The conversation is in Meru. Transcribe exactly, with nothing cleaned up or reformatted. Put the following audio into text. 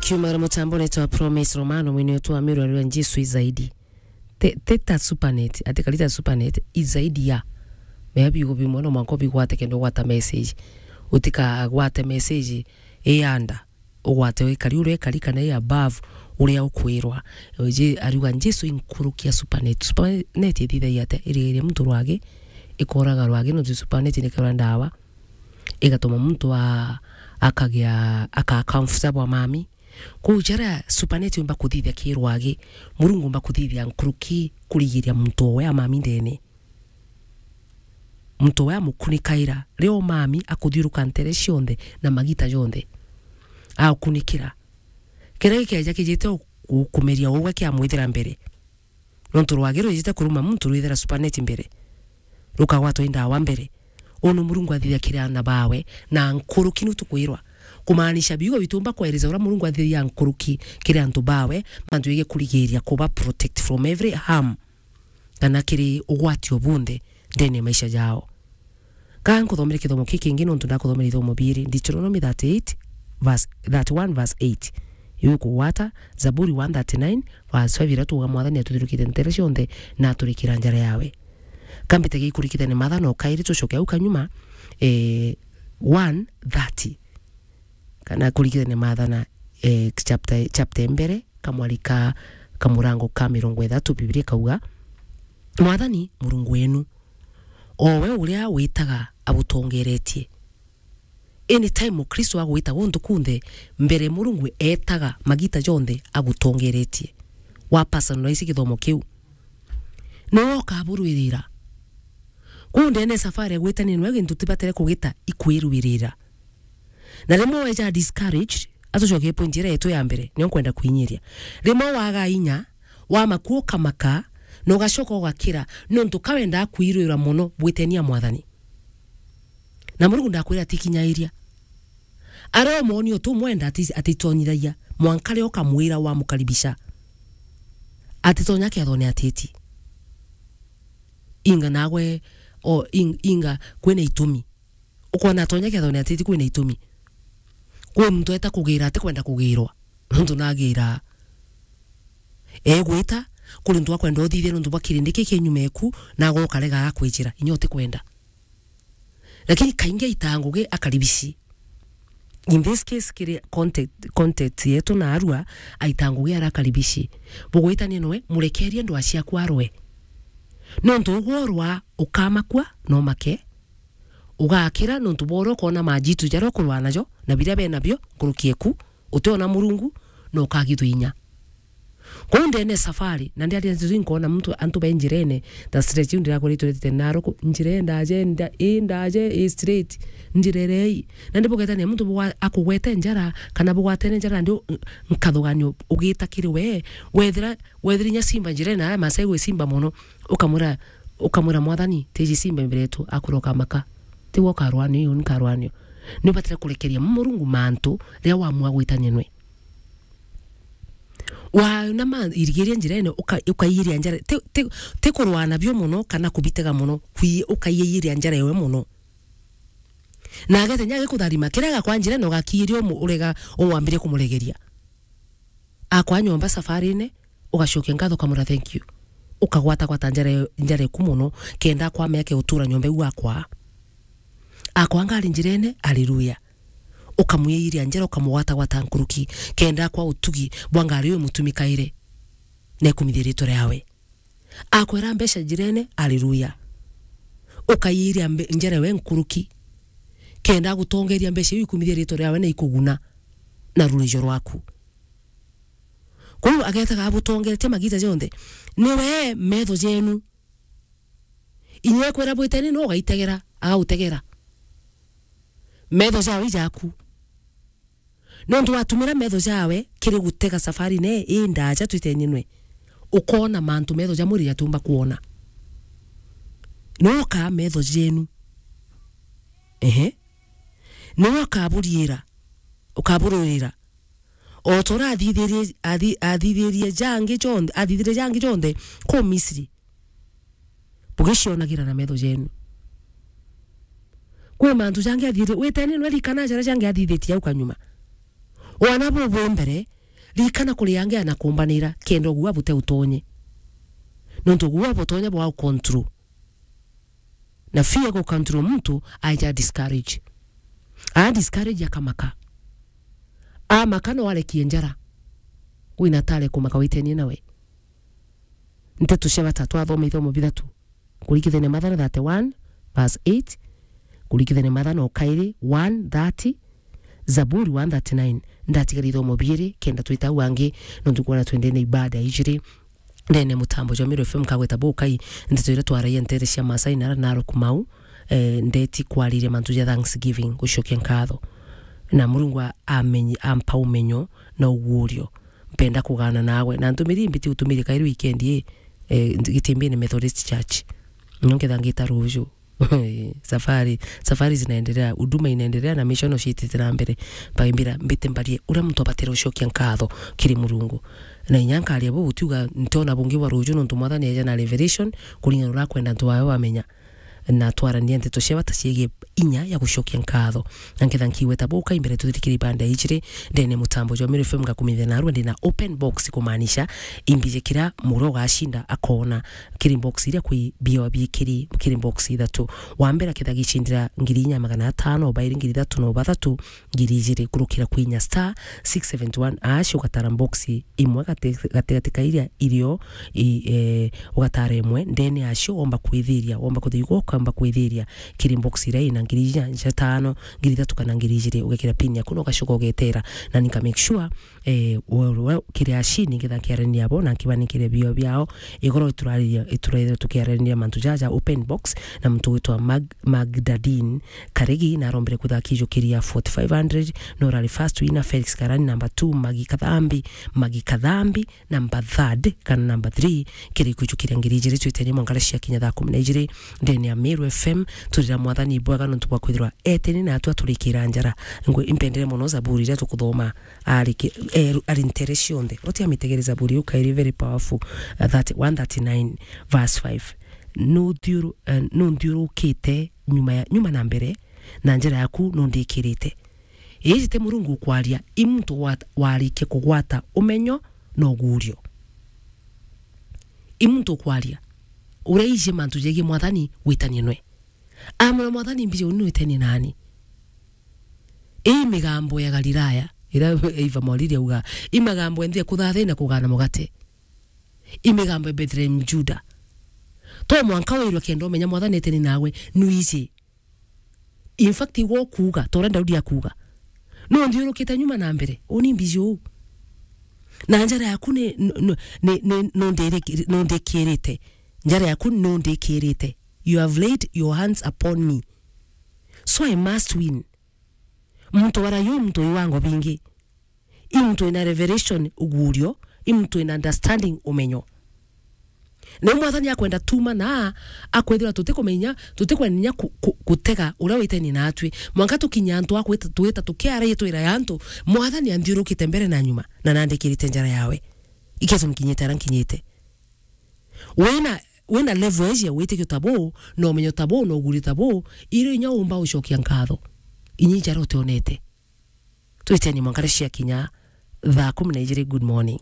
Kiumara mutambone twa Promise Romano, mwini wetu wa miru ariwa Jesu izaidi. Te, te ta Supernet, ati kari ta Supernet, izaidi ya. Mea biugo bimwe no mwanka bigwate kenda ugwata message. Utikagwate message iyanda. Ugwate wikari uria ikari kana i above uria ukwirwa. Oje ariwa Jesu inkurukia Supernet. Supernet ithithagia ate irigiria muntu rwagi, ikoraga rwagi, no Supernet ni kara ndawa. Igatuma muntu a-, akagia, aka comfortable mami. Kwou jaria Supernet yumba kuthithia ki rwagi, Murungu umba kuthithia nkuruki kurigiria muntu owe amami ndene. Muntu owe amukunikaira, rio mami akuthiuruka ntere cionthe na magita jonthe. Aukunikira. Kiria gikeja kijite u-, u-, kumeria ugwe kiamwithira mbere. Nontu rwagi rwijite kuruma muntu rwithira Supernet mbere, rukagwatwa i ndawa mbere. Unu Murungu athithia kiri aana bawe, na nkuruki nu tukwirwa. Kumaanisha biugo bitumba kwereza uria Murungu athithia nkuruki kiri antu bawe, mantu yege kurigiria kuba protect from every harm, kana kiri ugwati o bunthe ndene ya maisha jao. Ka nkuthomere kithomo ki kingi, nontu ndakuthomere ithomo biiri, Deuteronomy thirty-eight, verse, thirty-one verse eight. Iu kugwata, Zaburi one thirty-nine verse five, iria tuuga, Mwathani atuthirukite ntere cionthe, na aturikira njara yawe. Ka mbite gikurikithania Maathana o kairi, tucoke au kanyuma, eh, one thirty. Kana kurikithania Maathana, eh, chapter, chapter mbere, kamwari ka, kamurango ka mirongo ithatu, Bibilia ikauga, Mwathani, Murungu wenu, o we uria witaga agutongeretie. Anytime Mukristo agwita guntu kunthe, mbere Murungu etaga magita jonthe agutongeretie. Wa personalize githomo kiu. Niwe ukaburwirira. Kuu ndene safari ya gwitania nwe gintu tibatere kugita ikwirwirira. Na rimwe weja discouraged, atucokie point iria yetu ya mbere, niyo nkwenda kwinyiria. Rimwe waga inya, wamakua ukamaka, na ugacoka ugakira, nontu ka wendaa kwirwira mono bwitenia Mwathani. Na Murungu ndakwira atikinyairia. Aria umoni utu mwenda ati-, atitonyithagia, mwanka ria ukamwira wamukaribisha. Atitonya kethone atiti. Inga nagwe, o, ing-, inga kwina itumi. Ukona atonya kethone atiti kwina itumi. Kwi muntu eta kugira ati kwenda kugirwa. Nontu nagira. Egwita, kuri untu akwenda uthithie nontu bwa kirindi ki kinyuma eku, na agoka rega akwijira, inya utikwenda. Lakini kaingi aita ngugi akaribici. In this case, kiri context, context yetu na arua, aita ngugi ara akaribici. Bugwitania nwe, murekerie ndwa ciaku arwe. Nontu ugworwa ukamakua, no make. Ugakira nontu bwa uria ukona majitu jaria ukurwaa najo, na biria be nabio, nkuruki eku, utiona Murungu, na ukagithwa inya. Kuu ndene safari, na ndiaria nzuri nkona muntu, antu be njirene, ta straight iu ndirakoretwe ritite naruku, njira indaje, nda-, indaje, i straight, njirerei. Na ndibugwetania muntu bugwa-, akugwete njara, kana bugwatene njara, ndi u-, nkathuganio ugita kiri we, wethira, wethira inya simba njirene, aya Masai gwi simba mono, ukamwira, ukamwira, "Mwathani, tiji simba imbere yetu," akwira, "Ukamaka." Tigwe ukarwanio, iu nkarwanio. Ni ubatire kurekeria Murungu mantu riria wamua gwitania nwe. Waona ma irigiria njirene, uka-, ukaiyiria njara, ti, ti, ti kurwana bio mono kana kubitega mono, kwi-, ukaiyiria njara ewe mono. Na agete nya agikutharima, kiria gakwa njirene ugakiyiria umu-, urega, uwambirie kumuregeria. Akwa nyomba safarine, ugacokia nkatho ukamwira thank you. Ukagwatagwata njara, njara eku mono, kenda akwa ameke utura nyomba iu akwa. Akwa ngari njirene, haleluya. Ukamwiyiria njara, ukamugwatagwata nkuruki, kenda akwa utugi bwa ngari uyu mutumi kaire, na ikumithia ritwa riawe. Akwera mbeca njirene, haleluya. Ukayiria mbe-, njara we nkuruki, kenda agutongeria mbeca iu ikumithia ritwa riawe na ikuguna na rurijo rwaku. Kwou agetaga abutongeretie magita jonthe. Niwe metho jenu. Inya ekwira bwiteni, no ugaitegera, agautegera. Metho jawe ijaku. Nontu watumira metho jawe kiri gutega safari ne indaja twitenie nwe, ukona mantu metho ja mwiri jatiumba kwona. Niwe ukaa metho jenu. Ehe. Niwe ukaburiira, ukabururira. O ta uria athithirie, athi-, athithirie jangi jonthe, athithirie jangi jonthe kuu Misri, bugicionagira na metho jenu. Kwi mantu jangi athithirie, witeni nwe rikana jaria jangi athithitie au kanyuma. Wana buu bwi mbere, Ririkana kuri angi anakumbanira, kenda uguo bute utonye. Nontu uguo butonya bwa control. Na fear go control muntu, aja discourage. A discourage akamaka. Amaka no arekie njara. Wina tare kumaka witenie nawe. Nteto cia bata twathoma ithomo bithatu. Kurikithania Mathayo thirty-one, verse eight. Kurikithania Mathayo kairi, one thirty. Zaburi one thirty-nine. Ndatigara ithomo biiri, kenda twita au angi, nontu kwona twendene ibada ijiri. Ndene mutambo jwa Meru F M nkagweta bukai, nteto iria twaragia ntere cia Maasai na Narok mau, eh, ndeti kwariria mantu ja thanksgiving, gucokia nkatho. Na Murungu a-, amenyi-, ampa umenyo na ugurio. Mpenda kugana nawe. Na ntumiri mbiti utumiri kairi weekend ii, eh, Gitimbini Methodist Church. Nyo nketha ngita ruju. Safari, safari zinaendelea, huduma inaendelea na mission ciitite na mbere. Baimbira mbite mbarie uria muntu abatire ucokia nkatho kiri Murungu. Na inya nkaria buu gutiuga ntona bungi bwa ruju nontu Mwathani eja na revelation kuringana uria akwenda antu bawe bamenya. Na twarania nteto cia bata ciigie inya ya gucokia nkatho. Na nketha nkigweta bukai mbere tuthirikire ibanda ijiri, ndene mutambo jwa Meru F M ngakumithia narua ndina open box kumaanisha imbije kira muro ugacinda akona kiri box iria kwi bio biikiri kiri box ithatu. Wa mbere aketha gicindira ngiri inya magana atano, bairi ngiri ithatu na bathatu, ngiri ijiri kurukira kwinya star six seventy one hash ugatara box imwe gati-, gatigati ka iria irio i, eh, ugatara imwe ndene yacio womba kwithiria, womba kuthigwa ukamba kwithiria kiri box iria ina ngiri inya cia tano, ngiri ithatu kana ngiri ijiri, ugekira pin yaku na ugacoka ugetera na nika make sure eh, we, we, kiri ashini ngetha kiarania bo na nkibanikire bio biao. Igoro iturariria, iturarire tukiarania mantu jaja open box na muntu witwa Mag-, Magdalene Karigi na arombire kwitha akijukiria forty-five hundred, no rari first winner Felix Karani number two, Magi Kathambi, Magi Kathambi number third kana number three, kiri kujukiria ngiri ijiri twitenie mwankara cia kinya thaa kumi na ijiri ndene ya Meru F M. Turira Mwathani bwega nontu bwa kwithirwa eteni na atua turikira njara. Ngwe impendere mono Zaburi iria tukuthoma ari ki-, eh, ari ntere cionthe. Uti amitegere Zaburi iu kairi very powerful, uh, that one thirty-nine verse five. Nuthiuru-, eh, nunthiurukite nyuma ya, nyuma na mbere, na njira yaku nundikirite. Iji ti Murungu ukwaria, i muntu wa-, warikia kugwata umenyo na ugurio. I muntu ukwaria, uria iji mantu jegie Mwathani witanie nwe. Amwira Mwathani, mbiji uni witenie nani. Ii migambo ya Galilaya, iria Eva Mwariri auga, i migambo enthi ya kuthathia na kugana mugate. I migambo ya Bethlehem Juda. To mwanka wirwe kenda umenya Mwathani eteni nawe, nwiji. In fact, igwe ukuuga, ta uria Daudi akuuga. No nthiurukite nyuma na mbere, uni mbiji uu. Na njara yaku ni, ni, ni, ni, nundiri-, nundikirite. Njara yaku nundikirite. You have laid your hands upon me. So I must win. Muntu wara yu muntu wi wango bingi. I muntu ina revelation, ugurio, i muntu ina understanding, umenyo. Na Mwathani akwenda tuma na akwithira tutikumenya, tutikwenda inya ku-, ku-, gutega uria witeni natwi. Mwanka tukinya antu a kwita, twita tukiaragia twira ya antu, Mwathani anthiurukite mbere na nyuma, na nandikirite njara yawe. Ikeso mkinyite ara nkinyite. Wina, wina level eji ya witikio ta buu, na umenyo ta buu, na uguri ta buu, irio inya umba ucokia nkatho. Inyi njara utionete. Twiteni mwankare cia kinya thaa kumi na ijiri. Good morning.